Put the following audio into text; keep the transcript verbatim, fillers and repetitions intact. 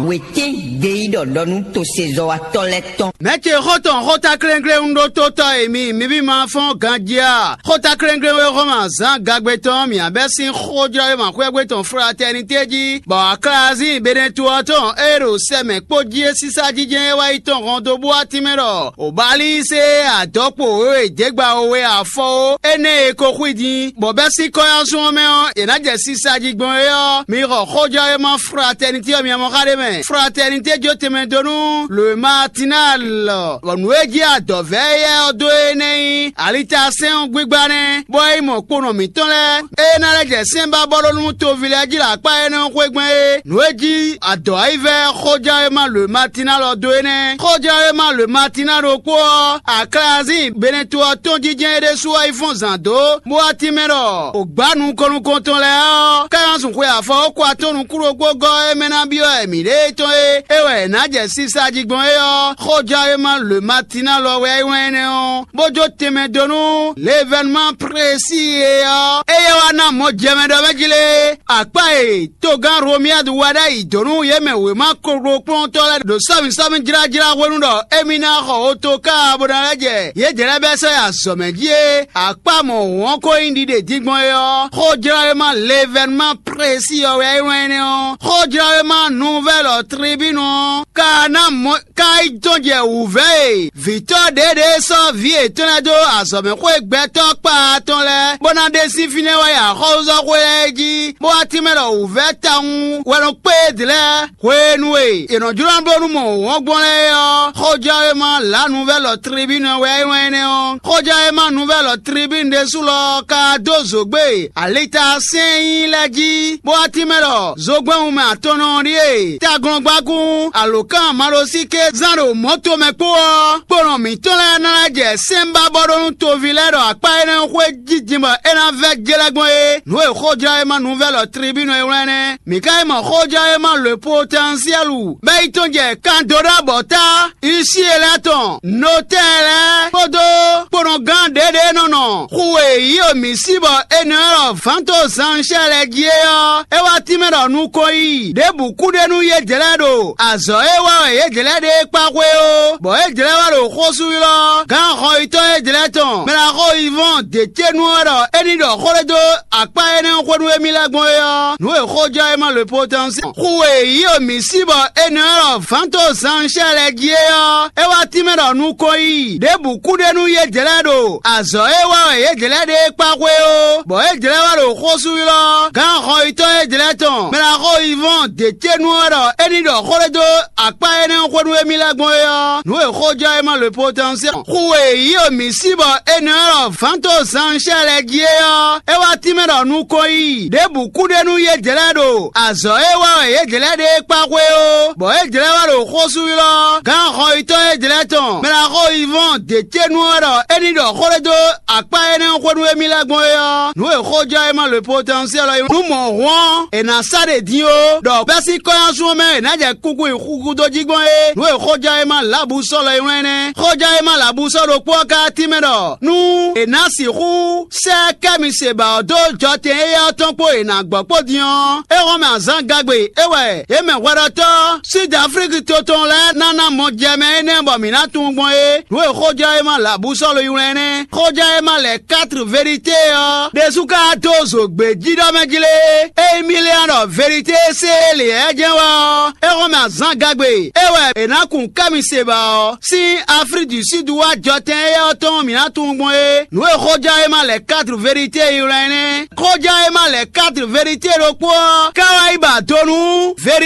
Wětɛ́n ɖe yí ɖɔ ɖɔ nú tosezɔ́watɔ́ lɛ́ɛ tɔn. Mɛ̌ ce xó tɔn xóta klɛ́nklɛ́n ɖó tótɔ́ e mi, mi ví ma fɔ́n ganjí a? Xóta klɛ́nklɛ́n e Hlɔ̌ma zán gagbe tɔn mǐ abɛ́ sín xójlɔ́wéma xwɛ́gbé tɔn Fratɛnité jí, bɔ Aklazín Benetu ɔ́ tɔn e ɖo sɛ mɛ kpó jí é sísá jijɛ é wá yi tɔn hɔn dó bú atín mɛ ɖɔ Obalísé adɔ̌kpo wěwe děgba we afɔ ó, énɛ́ e ko xwí din, bɔ bɛ́ sín kɔ́yánsún ɔ́ mɛ ɔ́, è nǎ jɛ sisa jí gbɔn é ɔ́, mi xɔ xójɔ́wéma Fratɛnití ɔ́ miamɔ xá ɖé mɛ. Fratɛnití jó tɛnmɛ dó nú Lwe Matinal, bɔ nǔ e jí adɔ̌vɛ́ éyɛ́ ɔ́ dó é nɛ́ nyí alitasɛ́n ɔ́ gbígbá nɛ́, bɔ é nyí mɔ kponɔ mǐtɔn lɛ́ɛ. É ná lɛ́ jɛ sɛ́n ba bɔ ɖó nú toví lɛ́ɛ jí ɖo akpá énɛ́ ɔ́ xwé gbɛn é. Nǔ e jí adɔ̌ ayivɛ́ xójɛ́wéma Lwe Matinal ɔ́ dó é nɛ́. Xójɛ́wéma Lwe Matinal ɖokpó ɔ́, Aklazín Beneto ɔ́ tɔn jínjɛ́n é ɖésú wá yi fɔ́n zǎn dó, bó wá tínmɛ ɖɔ: “O gbǎ nukɔn nukɔntɔn lɛ́ɛ ɔ́, ká nɔ sun xwe afɔ ó kɔ atɔ́n nukúnnú gɔ́ é mɛ ná byɔ́ wɛ mǐɖée tɔn é, é wɛ è nǎ jɛ sisa jí gbɔn é ɔ́, xójɛ́wéma Lwe Matinal ɔ́ wɛ é wlán énɛ́ ɔ́, bó jó tɛnmɛ dó nú l'événement précis é ɔ́, éyɛ́ wá ná mɔ jɛ mɛ ɖɔ mɛ jí lé. Akpá e togán Romiyadu wa ɖ'ayǐ dó nú yě mɛ wěma koklokplɔ́ntɔ́ lɛ́ɛ ɖo sɔ́mǐsɔ́mí jlájlá hwenu ɖɔ émí ná xɔ otokáa bó ná lɛ́ jɛ yědɛɛ lɛ́ɛ bɛ́ sɔ́ yi azɔ̌ mɛ jí é, akpá mɔ̌hun ɔ́ ko nyí ɖiɖe din gbɔn é ɔ́, xójlɔ́wéma l'événement précis ɔ́ wɛ é wlán énɛ́ ɔ́. Xójlɔ́wéma Nouvelle Tribune ɔ́ ka ná mɔ ka yi tɔn jɛ wǔvɛ́ e vǐtɔ́ ɖěɖě sɔ́ vǐ yětɔn lɛ́ɛ dó azɔ̌mɛxwé gbɛtɔ́ kpaa tɔn lɛ́ɛ, bó ná ɖe sín fínɛ́ wá yi axɔ́súzɔ́xwé lɛ́ɛ jí, bó wá tínmɛ ɖɔ wǔvɛ́ tawun wɛ nɔ kpé yědɛɛ lɛ́ɛ. Hwenu e è nɔ jlɔ́ bló nú mɔ wɔ̌n gbɔn lɛ́ɛ é ɔ́, xójɛ́wéma La Nouvelle Tribune wɛ é wlán énɛ́ ɔ́. Xójɛ́wéma Nouvelle Tribune ɖésú lɔ ka dó zǒgbé alita sɛ́n nyí lɛ́ɛ jí, bó wá tínmɛ ɖɔ zogbɛ́n wunmɛ atɔnnɔ ɔ́ ɖíe: taglɔ́ngbákún, alǒkan maɖósíké zán ɖo mɔ̌ tomɛ kpó ɔ́, kponɔ mǐtɔn lɛ́ɛ ná lɛ́ jɛ sɛ́n ba bɔ ɖó nú toví lɛ́ɛ ɖo akpá énɛ́ xwé jí din bɔ é ná vɛ́ jlɛ́ gbɔn é. Nǔ e xójɛ́wéma Nouvelle Tribune e wlán nɛ́. Mǐ ka yi mɔ xójɛ́wéma Le Potentiel bɔ é yi tɔn jɛ kan dó ɖɔ abɔ̌ta huissier lɛ́ɛ tɔn, notɛ́ɛ lɛ́ɛ kpódó kponɔgán ɖěɖě e nɔ nɔ xu e yí mǐ sí bɔ è nɔ ylɔ́ vǎntozánshɛ́ lɛ́ɛ jí é ɔ́, é wá tínmɛ ɖɔ nukɔn yiyi ɖěbǔ kú ɖe nú yědɛɛ lɛ́ɛ ɖo azɔ̌ e wa wɛ yědɛɛ lɛ́ɛ ɖe é kpá xwé ó, bɔ yědɛɛ lɛ́ɛ wá ɖo xó sú ylɔ́ gǎn xɔyítɔ́ yědɛɛ lɛ́ɛ tɔn, mɛ ɖaxó Yivɔ́n Decenu ɔ́ ɖɔ é ní ɖɔ xó ɖé dó akpá énɛ́ xwé nú émí lɛ́ɛ gbɔn é ɔ́, nǔ e xójɛ́wéma Le Potentiel xu e yí mǐ sí bɔ è nɔ ylɔ́ vǎntozánshɛ́ lɛ́ɛ jí é ɔ́, é wá tínmɛ ɖɔ nukɔn yiyi ɖěbǔ kú ɖe nú yědɛɛ lɛ́ɛ ɖo azɔ̌ e wa wɛ yědɛɛ lɛ́ɛ ɖe é kpá xwé ó, bɔ yědɛɛ lɛ́ɛ wá ɖo xó sú ylɔ́ gǎn xɔyítɔ́ yědɛɛ lɛ́ɛ tɔn, mɛ ɖaxó Yivɔ́n Decenu ɔ́ ɖɔ é ní ɖɔ xó ɖé dó akpá énɛ́ xwé nú émí lɛ́ɛ gbɔn é ɔ́, nǔ e xójɛ́wéma Le Potentiel xu e yí mǐ sí bɔ è nɔ ylɔ́ vǎntozánshɛ́ lɛ́ɛ jí é ɔ́, é wá tínmɛ ɖɔ nukɔn yiyi ɖěbǔ kú ɖe nú yědɛɛ lɛ́ɛ ɖo azɔ̌ e wa wɛ yědɛɛ lɛ́ɛ ɖe é kpá xwé ó, bɔ yědɛɛ lɛ́ɛ wá ɖo xó sú ylɔ́ gǎn xɔyítɔ́ yědɛɛ lɛ́ɛ tɔn, mɛ ɖaxó Yivɔ́n Decenu ɔ́ ɖɔ é ní ɖɔ xó ɖé dó akpá énɛ́ xwé nú émí lɛ́ɛ gbɔn é ɔ́, nǔ e xójɛ́wéma Le Potentiel ɔ́ nú mɔ̌ hɔn è nǎ sa ɖe din ó, ɖɔ bɛ́ sín kɔ́nyásun ɔ́ mɛ è nǎ jɛ kúkú yi xúxú dó jí gbɔn é. Nǔ e xójɛ́wéma Labusɔ́lu e wlán nɛ́. Xójɛ́wéma Labusɔ́lu ɖokpó ɔ́ ka tímɛ ɖɔ nú è nǎ sixú sɛ́ Kɛ́miseba ɔ́ dó jɔtɛn éyɛ́ ɔ́ tɔn kpó è nǎ gbɔ kpó din ɔ́, é hɔn mɛ azǎn gagbe é wɛ yě mɛ hwɛɖɔtɔ́ Sud Aflíki to tɔn lɛ́ɛ ná ná mɔ jɛ mɛ énɛ́ bɔ mǐ ná tunwun gbɔn é. Nǔ e xójɛ́wéma Labusɔ́lu yi wlán nɛ́. Xójɛ́wéma lɛ quatre vérité ɔ́ ɖésú ka dó zo gbějíɖɔ mɛ jí lé. Ényí mì lɛ́ ɖɔ vérité e se lě lɛ́ɛ jɛ́n wɛ ɔ́, é hɔn mɛ azǎn gagbe é wɛ è nǎ kun Kɛ́miseba ɔ́ sín Aflíki du Súdu wá jɔtɛn éyɛ́ ɔ́ tɔn mǐ ná tunwun gbɔn é. Nǔ e xójɛ́wéma lɛ quatre vérité yi wlán nɛ́. Xójɛ́wéma lɛ quatre vérité ɖokpó ɔ́ ka wá yi ba do nú vérité